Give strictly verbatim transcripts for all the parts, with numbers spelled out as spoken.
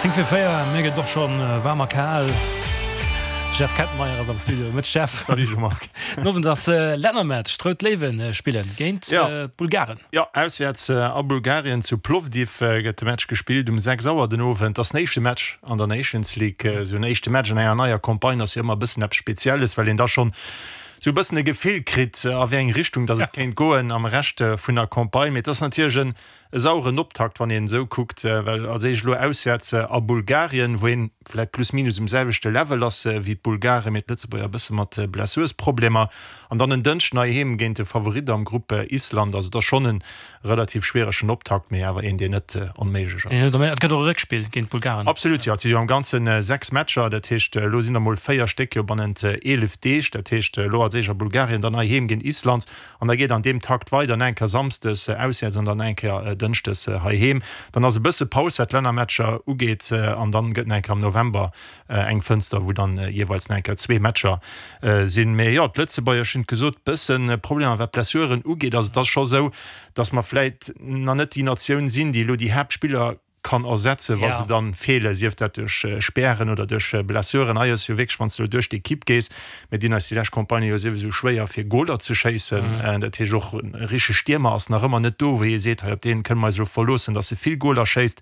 Zéng vir véier, mir gëtt och schonn waarm a kal. Jeff Kettenmeyer ass am Studio. Mëtteg Jeff. Salut Jean-Marc. Den Owend ass Lännermatch, d'Rout Léiwe spillen géint d'Bulgaren. Jo, auswäerts a Bulgarien zu Plovdiv gëtt de Match gespillt um sechs Auer den Owend. Ass den éischte Match an der Nations League. Esou en éischte Match an enger neier Campagne ass jo ëmmer e bëssen eppes Spezielles, well een da schonn esou e bëssen e Gefill kritt, a wéi eng Richtung datt et kéint goen am Rescht vun der Campagne. Mee et ass natierlech en E saueren Optakt, wann een esou kuckt, well als éischt elo auswäerts a Bulgarien, wou een vläit plus minus um selwechte Level ass wéi d'Bulgaren, mee d'Lëtzebuerger e bësse mat Blessursproblemer. An dann en Dënschden heiheem géint de Favorit am Grupp, Island. Also et ass schonn e relativ schwieregen Optakt, mee awer een, deen net onméiglech ass. Et gëtt och e Réckspill géint d'Bulgaren. Absolut, jo. Et si jo am Ganze sechs Matcher, dat heescht elo sinn der mol véier Stéck jo bannent eelef Deeg. Dat heescht elo als éischt a Bulgarien, dann heiheem géint Island. An da geet an deem Takt weider, eng Kéier samsdes auswäerts an dann eng Kéier dënschdes heiheem. Dann ass e bësse Paus, wat d'Lännermatcher ugeet, an dann gëtt nach eng Kéier am November eng Fënster, wou dann jeeweils nach eng Kéier zwee Matcher sinn. Mee jo, d'Lëtzebuerger, ech hunn et gesot, bësse Problemer wat d'Blessuren ugeet. Also et ass scho sou, datt mer vläit nach net déi Natioun sinn, déi elo déi Haaptspiller kann ersetzen, wa se dann feelen, sief dat duerch Spären oder duerch Blessuren. Hei ass jo wierklech, wann s de elo duerch d'Ekipp gees, mir dinn eis déi lescht Campagne jo souwisou schwéier fir Goler ze schéissen, dat heescht och e richtege Stiermer ass nach ëmmer net do, wou ee seet, hei op dee kënne mer eis elo verloossen, datt e vill Goler schéisst.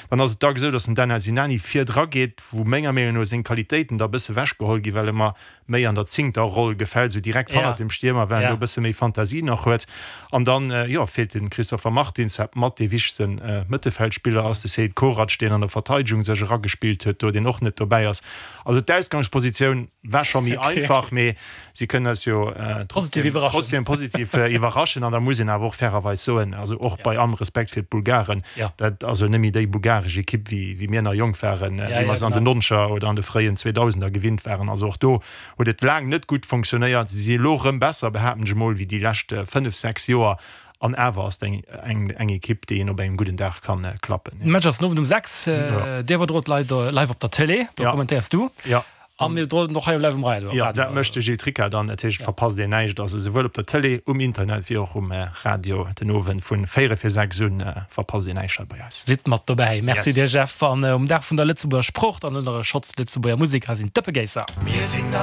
Dann ass et dacks esou, datt den Daniel Sinani vir dra geet, wou menger Meenung no seng Qualitéiten da e bësse wechgeholl ginn, well e mer méi an der zéngter Roll gefält, esou direkt hannert dem Stiermer, well en do e bësse méi Fantasie nach huet. An dann, jo, feelt de Christopher Martins, wat mat dee wichtegste Mëttelfeldspiller ass, de Seid Korac, deen an der Verteidegung sech eragespillt huet do, deen och net dobäi ass. Also d'Ausgangspositioun war scho méi einfach, mee si kënnen eis jo trotzdem positiv iwwerraschen. An da muss een awer och fairerweis soen, also och bei allem Respekt fir d'Bulgaren, dat ass jo net méi déi bulgaresch Ekipp, wéi mir nach jonk waren, wéi mer se an den Nonzeger oder an de fréien Zweedausender gewinnt waren. Also och do huet et laang net gutt fonctionnéiert. Si si elo erëm besser, behaapten ech emol, wéi déi lescht fënnef, sechs Joer. An awer ass et eng eng Ekipp, déi een op engem gudden Dag kann klappen. De Match ass den Owend um sechs. Dir iwwerdrot live live op der Télé, do kommentéiers du. A mir iwwerdroen och hei live um Radio. Jo, dat mécht de Gilles Tricca dann. Dat heescht, et verpasst een näischt. Also souwuel op der Télé, um Internet wéi och um Radio den Owend vu véierel vir sechs un verpasst een näischt hei bei eis. Sidd mat dobäi. Merci dir Jeff. An um Dag vun der Lëtzebuerger Sprooch dann elo nach e Schotz Lëtzebuerger Musek. Hei sinn d'Dëppegéisser. Mir sinn all.